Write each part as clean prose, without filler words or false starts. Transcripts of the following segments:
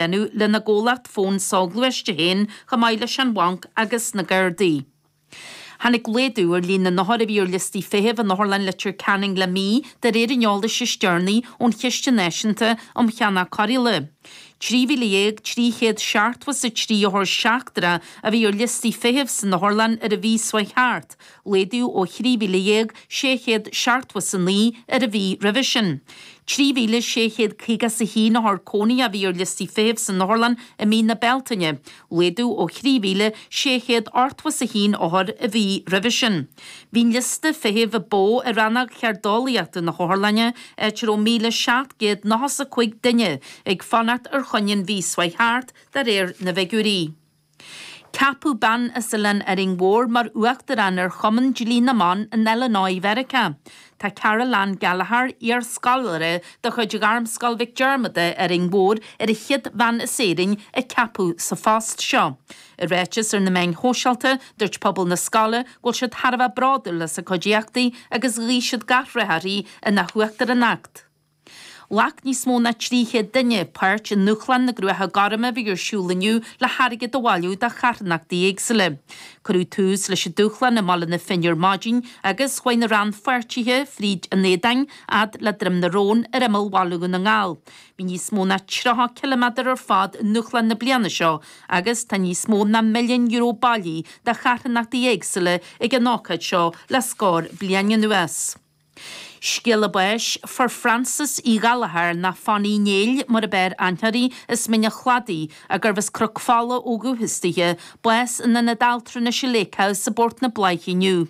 dhéanamh lena gcomhlacht fón soghluaiste féin chomh maith leis an bhanc agus na Gardaí. Tháinig laghdú ar líon na n-othar a bhí ar liostaí feithimh in Otharlann Leitir Ceanainn le mí, de réir an eolais is deireanaí ón Chiste Náisiúnta um Cheannach Cóireála. 13,373 othar seachtrach a bhí ar liostaí feithimh san otharlann ar an mhí seo chuaigh thart, laghdú ó 13,679 ar an mhí roimhe sin. 3,651 othar cónaithe a bhí ar liostaí feithimh san otharlann i mí na Bealtaine, laghdú ó 3,681 othar an mhí roimhe sin. Bhí an liosta feithimh a ba mhó i rannóg cheirdeolaíochta na hotharlainne, áit a raibh 1,795 duine ag fanacht ar choinne an mhí seo chuaigh thart, de réir na bhfigiúirí. Ceapadh bean as Oileán Árainn Mhór mar uachtarán ar Chumann Dlí na mBan in Illinois Mheiriceá. Tá Carol Ann Gallagher, iar-scoláire de chuid Ghairmscoil Mhic Diarmada, Árainn Mhór, ar an chéad bhean as Éirinn a ceapadh sa phost seo. I ráiteas ar na meáin shóisialta, dúirt pobal na scoile go bhfuil siad thar a bheith bródúil as a cuid éachtaí agus ghuigh siad gach rath uirthi ina huachtaránacht. Ghlac níos mó ná 300 duine páirt i nDúshlán na gCruacha Gorma a bhí ar siúl inniu le hairgead a bhailiú do charthanachtaí éagsúla. Cuireadh tús leis an dúshlán i mBaile na Finne ar maidin agus chuaigh na rannpháirtithe fríd an Éadáin fhad le Droim na Rón ar imeall Bhaile Dhún na nGall. Bhí níos mó ná 30 ciliméadar ar fad i ndúshlán na bliana seo agus tá níos mó ná €1,000,000 bailithe do charthanachtaí éagsúla ag an ócáid seo le scór bliain anuas. Scéala báis, Fuair Frances Uí Ghallchóir, nó Fanny Néill mar ab fhearr aithne uirthi, as Mín an Chladaigh, gurbh as Cnoc Fola ó dhúchas dithe, bás in Ionad Altranais Lakehouse i bPort na Bláiche inniu.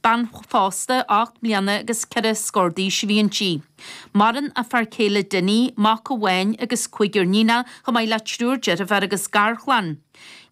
Bean phósta 8 mbliana agus ceithre scór d'aois a bhí inti. Maireann a fear céile Dinny, mac amháin agus cúigear níonach, chomh maith le triúr deirfiúr agus garchlann.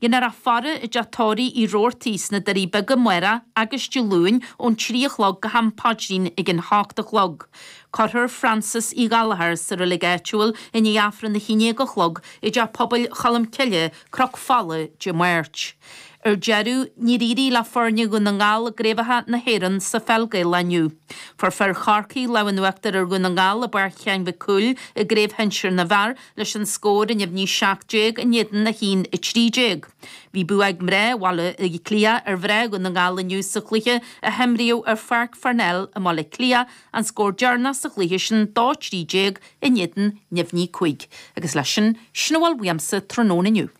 Déanfar a faire i dteach tórraimh Uí Robhartaigh sna Doirí Beaga amárach agus Dé Luain ón 3 a chlog go ham paidrín ag an hocht a chlog. Cuirfear Frances Uí Ghallchóir sa reilig áitiúil i ndiaidh Aifreann a haon déag a chlog i dTeach Pobail Cholmcille, Cnoc Fola, Dé Máirt. Ar deireadh, níor éirigh le foirne Dhún na nGall i gCraobhacha na hÉireann sa Pheil Gaelach inniu. Fuair fir Chorcaí lámh in uachtar ar Dhún na nGall i bPáirc Sheáin Mhic Cumhaill i gCraobh Shinsir na bhFear leis an scór neamhní 17 in éadan 1, 13. Bhí bua ag mná Bhaile Átha Cliath ar mhná Dhún na nGall inniu sa chluiche a himríodh ar Pháirc Pharnell i mBaile Átha Cliath, an scór deireanach sa chluiche sin 2, 13 in éadan neamhní 5. Agus leis sin, sin a bhfuil uaimse tráthnóna inniu.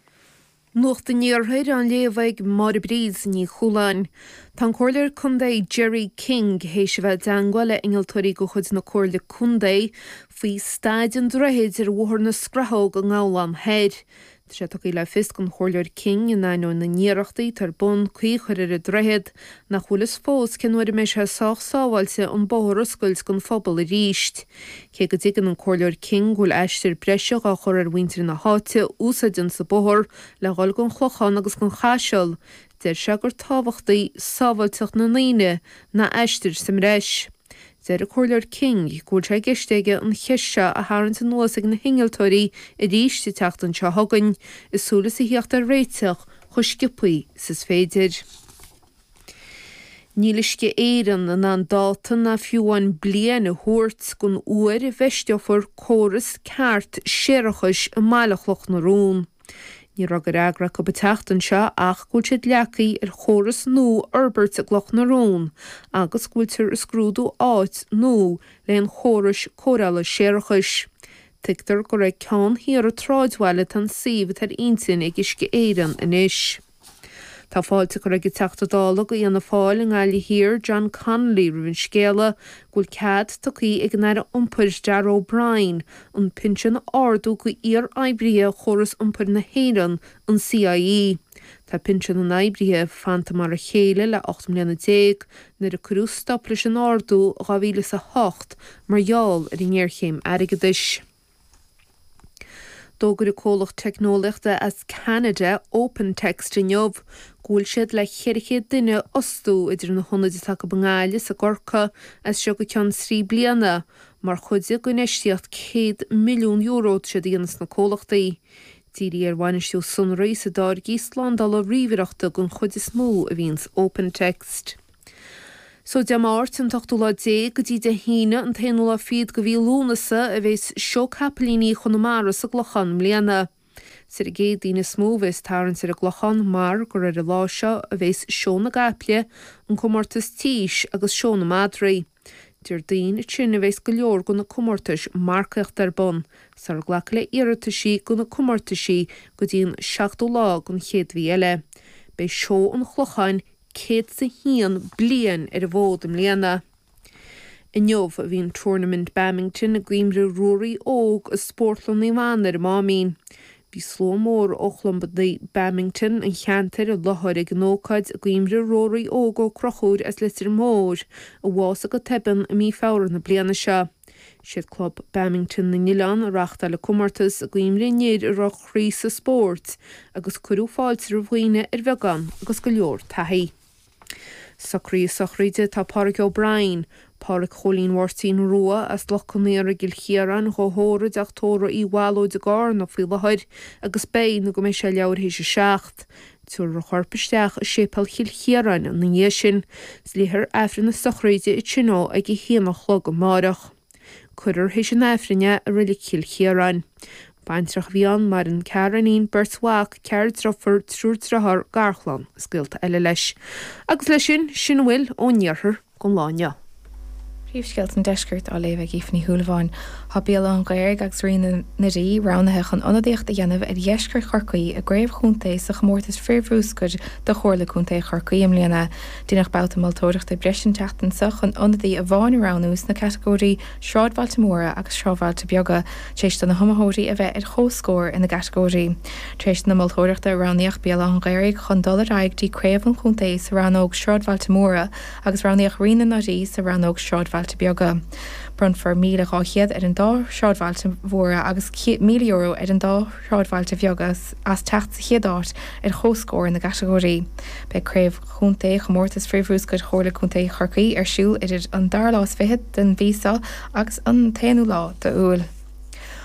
Nuacht an Iarthair á léamh ag Máire Bríd Ní Chualáin. Tá an Comhairleoir Contae Gerry King théis a bheith i dteangmháil le innealtóirí de chuid na Comhairle Contae faoi staid an droichid ar Bhóthar na Scrathóg i nGabhlán Thoir. Tá sé tugtha le fios don Chomhairleoir King, in ainneoin na n-iarrachtaí atá ar bun caoi a chur ar an droichead, nach bhfuil fhios fós cén uair a mbeidh sé sách sábháilte an bóthar a oscailt don phobal arís. Cé go dtuigeann an Comhairleoir King go bhfuil aistear breise dhá chur ar mhuintir na háite a úsáideanns an bóthar le dhul gon Chlochán agus gon Chaiseal, deir sé gur tábhachtaí sábháilteacht na ndaoine ná aistear sa mbreis. Deir an Comhairleoir King go bhfuil sé i gceist aige an cheist seo a tharraingt anuas ag na hinnealtóirí arís an tseachtain seo chugainn, i súil is a thíocht ar réiteach chomh sciobthaí 's is féidir. Níl Uisce Éireann in ann dáta ná fiú amháin bliain a thabhairt don uair a bhfeisteofar córas ceart séarachais i mbaile Chloch na Rón. Ní raibh de fhreagra acu an tseachtain seo ach go bhfuil siad leagtha ar chóras nua a fhorbairt i gCloch na Rón agus go bhfuiltear ag scrúdú áit nua le an chórais cóireála séarachais. Tuigtear gur ag ceann thiar an tsráidbhaile atá an suíomh atá ar intinn ag Uisce Éireann anois. Tá fáilte curtha ag an Teachta Dála do Fhianna Fáil i nGaillimh Thiar, John Connolly roimh an scéala go bhfuil cead tugtha ag an Aire Iompair Darragh O'Brien an pinsean a ardú do iar-oibrithe Chóras Iompair na hÉireann, an CIE. Tá pinsean na n-oibrithe fanta mar a chéile le 18 mbliana nuair a cuireadh stop leis an ardú i 2008 mar gheall ar an ngéarchéim airgeadais. D'fhógair an comhlacht teicneolaíochta as Ceanada, OpenText inniu go bhfuil siad le 400 duine a fhostú idir na hionaid atá acu i nGaillimh is i gCorcaigh as seo go ceann trí bliana mar chuid d'infheistíocht €100 milliún atá siad a dhéanamh sna comhlachtaí. Dírithe ar bhainistiú sonraí is i dtáirgí slándála ríomhaireachta den chuid is mó a bhíonns OpenText. So Dé Máirt an t-ochtú lá déag go dtí Dé hAoine an t-aonú lá fichead de mhí Lúnasa a bheas Seó Capaillíní Chonamara sa gClochán i mbliana. Is ar an gCéadaoin is mó a bheas tarraingt ar an gClochán mar gur ar an lá seo a bheas Seó na gCaiple, an Comórtas Tís agus Seó na Madraí. Déardaoin ansin a bheas go leor de na comórtais marcaíochta ar bun, sara glacfar le iarrataisí do na comórtaisí go dtí an seachtú lá den chéad mhí eile. Beidh Seó an Chlocháin 101 bliain ar an bhfód i mbliana. Inniu a bhí an Tournament Badminton i gcuimhne Ruairí Óg i Spórtlann Naomh Anna ar an Máimín. Bhí slua mór ó chlubanna badminton an cheantair i láthair ag an ócáid i gcuimhne Ruairí Óg Ó Conchúir as Leitir Móir, a bhásaigh go tobann i mí Feabhra na bliana seo. Siad Club Badminton na nOileán a reáchtáil an comórtas i gcuimhne an fhir a raibh a chroí sa spórt agus cuireadh fáilte roimh dhaoine ar bheagán agus go leor taithí. Socruithe sochraide Tá Páraic O'Brien, Páraic Chóilín Mháirtín Rua as Loch Con Aora i gCill Chiaráin, dhá thórramh i dTeach Tórraimh Uí Bhallóid i gCarna faoi láthair agus beidh nó go mbeidh sé leathuair théis a 7. Tabharfar a chorp isteach i Séipéal Chill Chiaráin ina dhiaidh sin. Léifear Aifreann na sochraide ansin dó ag a haon a chlog amáireach. Cuirfear théis an Aifrinn é i Reilig Chill Chiaráin. Baintreach a bhí ann, maireann ceathrar iníon, beirt mhac, ceathrar driofúr, triúr driotháir, garchlann is gaolta eile leis. Agus leis sin, sin a bhfuil ón iarthar don lá inniu. Príomhscéalta an Deiscirt á léamh ag Aoife Ní Shúilleabháin. Tá Béal Átha an Ghaorthaidh agus Ríona na Dí roghnaithe chun ionadaíocht a dhéanamh ar Dheisceart Chorcaí i gcraobh chontae sa chomórtas frithbhruscair do Chomhairle Contae Chorcaí i mbliana. Deineadh babhta moltóireachta breise an tseachtain seo chun ionadaí amháin a roghnú sna catagóirí Sráidbhailte Móra agus Sráidbhailte Beaga, tar éis do na hiomaitheoirí a bheith ar comhscór ina gcatagóirí. Tar éis na moltóireachta, roghnaíodh Béal Átha an Ghaorthaidh chun dul ar aghaidh dtí craobh an chontae sa rannóg Sráidbhailte Móra agus roghnaíodh Ríona na Dí sa rannóg Sráidbhailte Beaga. Bronnfar €1,200 ar an dá shráidbhailte mhóra agus €1,000 ar an dá shráidbhailte bheaga as teacht sa chéad áit ar chomhscór na gcatagóirí. Beidh Craobh Chontae Chomórtas Frithbhruscair Chomhairle Contae Chorcaí ar siúl idir an dara lá is fichead den mhí seo agus an t-aonú lá d'Iúil.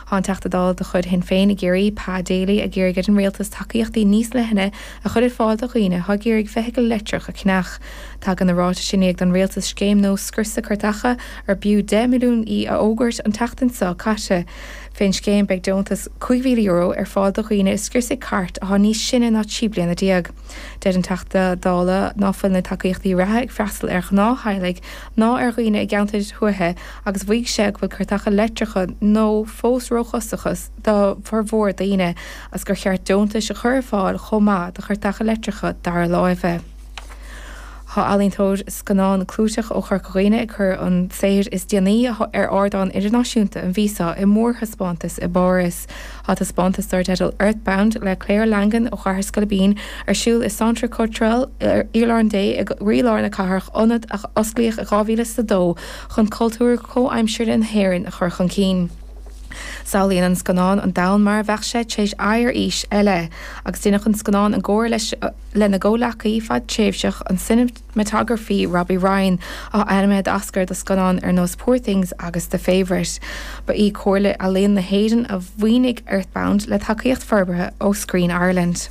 Tá an Teachta Dála de chuid Shinn Féin i gCiarraí, Pa Daly, ag iarraidh ar an Rialtas tacaíochtaí níos leithne a chur ar fáil do dhaoine atá ag iarraidh feithicil leictreach a cheannach. Tagann na ráitis i ndiaidh don Rialtas scéim nua scriosadh cairteacha ar b'fhiú €10 milliún í a fhógairt an tseachtain seo caite. Fén scéim beidh deontas €5,000 ar fáil do dhaoine a scriosfaidh cairt atá níos sine ná 13 bliana. Deir an Teachta Dála ná fuil na tacaíochtaí reatha ag freastal ar ghnáth-theaghlaigh ná ar dhaoine i gceantair thuaithe agus mhaígh sé go bhfuil cairteacha leictreacha nua fós róchostasach do formhór daoine agus gur cheart deontais a chur ar fáil chomh maith do chairteacha leictreacha dara láimhe. Tá ealaíontóir scannán clúiteach ó Chorca Dhuibhne ag cur an saothair is déanaí ar ardán idirnáisiúnta an mhí seo i mórthaispeántas i bPáras. Tá taispeántas dar teideal Earthbound le Claire Langan ó Chathair Scoilbín ar siúl i Centre Culturel Oileán Dé i gcroílár na cathrach, ionad a osclaíodh i 2002 chun cultúr comhaimseartha na hÉireann a chur chun cinn. Samhlaíonn an scannán an domhan mar a bheadh sé tar éis aghaidh ar aois eile, agus deineadh an scannán i gcomhar leis lena gcomhleacaí fadtréimhseach, an cineamatagrafaí Robbie Ryan, atá ainmnithe d'Oscar do scannáin ar nós Poor Things agus The Favourite. Ba í Comhairle Ealaíon na hÉireann a mhaoinigh Earthbound le tacaíocht forbartha ó Screen Ireland.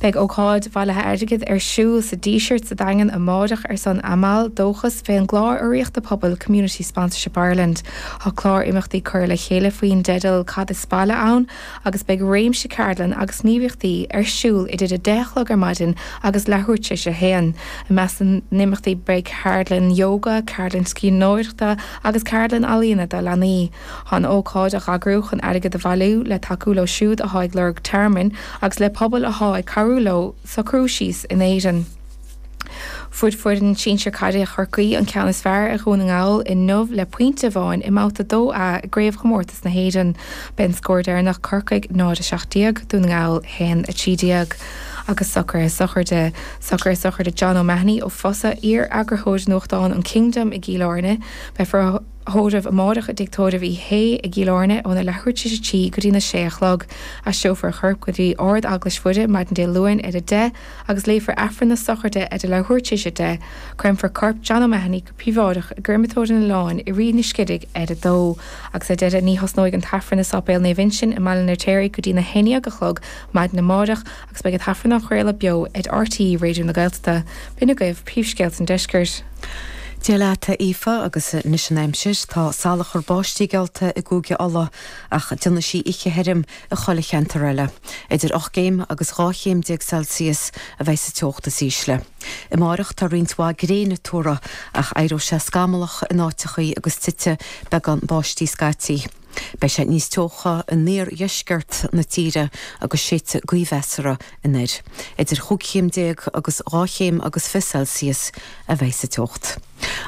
Beidh ócáid bhailithe airgid ar siúl sa Díseart sa Daingean amáireach ar son Amal, Dóchas, fén gclár urraíochta pobail Community Sponsorship Ireland. Tá clár imeachtaí curtha le chéile faoin dteideal Cad is Baile Ann? agus beidh réimse ceardlann agus gníomhaíochtaí ar siúl idir 10 a chlog ar maidin agus leathuair tar éis a haon. I measc na n-imeachtaí beidh ceardlann ióga, ceardlann scríbhneoireachta agus ceardlann ealaíona do leanaí. Tá an ócáid á heagrú chun airgead a bhailiú le tacú leo siúd atá ag lorg tearmainn agus le pobail atá ag cabhrú leo socrú síos in Éirinn. Fuair foireann sinsir caide Chorcaí an ceann is fearr ar Dhún na nGall inniu le pointe amháin i mBabhta 2A i gCraobhchomórtas na hÉireann. B'é an scór deireanach Corcaigh 0-17, Dún na nGall 1-13. Agus socruithe sochraide. Socruithe sochraide John O'Mahony ó Fosa, iar-eagarthóir nuachtáin an Kingdom i gCill Airne. Beifear á thórramh amáireach i dTigh Tórraimh Uí Shé i gCill Airne óna leathuair tar éis a 3 go dtína sé a chlog. Aistreofar a chorp go dtí Ard-Eaglais Mhuire maidin Dé Luain ar a 10 agus léifear Aifreann na sochraide ar a leathuair tar éis a 10. Créamfar corp John O'Mahony go príobháideach i gcréamatóir an Oileáin i Rí na Sciddigh ar a 2. Agus ar deireadh ní thosnóidh an tAifreann i Sáipéal Naomh Uinseann i mBaile an Fheirtéaraigh go dtí na haon dhéag a chlog maidin amáireach agus beidh an tAifreann á chraoladh beo ar RTÉ Raidió na Gaeltachta. B'in agaibh príomhscéalta an deiscirt. Dia leat, a Aoife, agus anois an aimsir. Tá salachar báistí geallta i gCúige Uladh ach déanfaidh sí oíche thirim i chuile cheantar eile. Idir 8 gcéim agus 12 chéim Celsius a bheidh sa teocht is ísle. Amáireach tá roinnt mhaith gréine tuartha ach éireoidh sé scamallach in áiteachaí agus titfidh beagán báistí scaití. Beidh sé níos teocha in iardheisceart na tíre agus séidfidh gaoth mheasartha anoir. Idir chúig chéim déag agus dhá chéim agus 20 Celsius a bheidh sa teocht.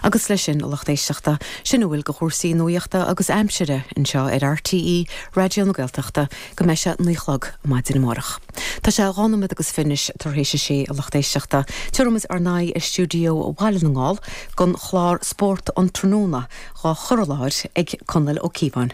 Agus leis sin, a lucht éisteachta, sin a bhfuil de chúrsaí nuaíochta agus aimsire anseo ar RTÉ Raidió na Gaeltachta go mbeidh sé 9 a chlog maidin amárach. Tá sé dhá nóiméad agus fiche anois tar éis a sé, a lucht éisteachta. Tabharfaimid ár n-aghaidh ar stiúideo Bhaile na nGall don chlár Spórt an Tráthnóna dhá chur i láthair ag Conall Ó Cíobháin.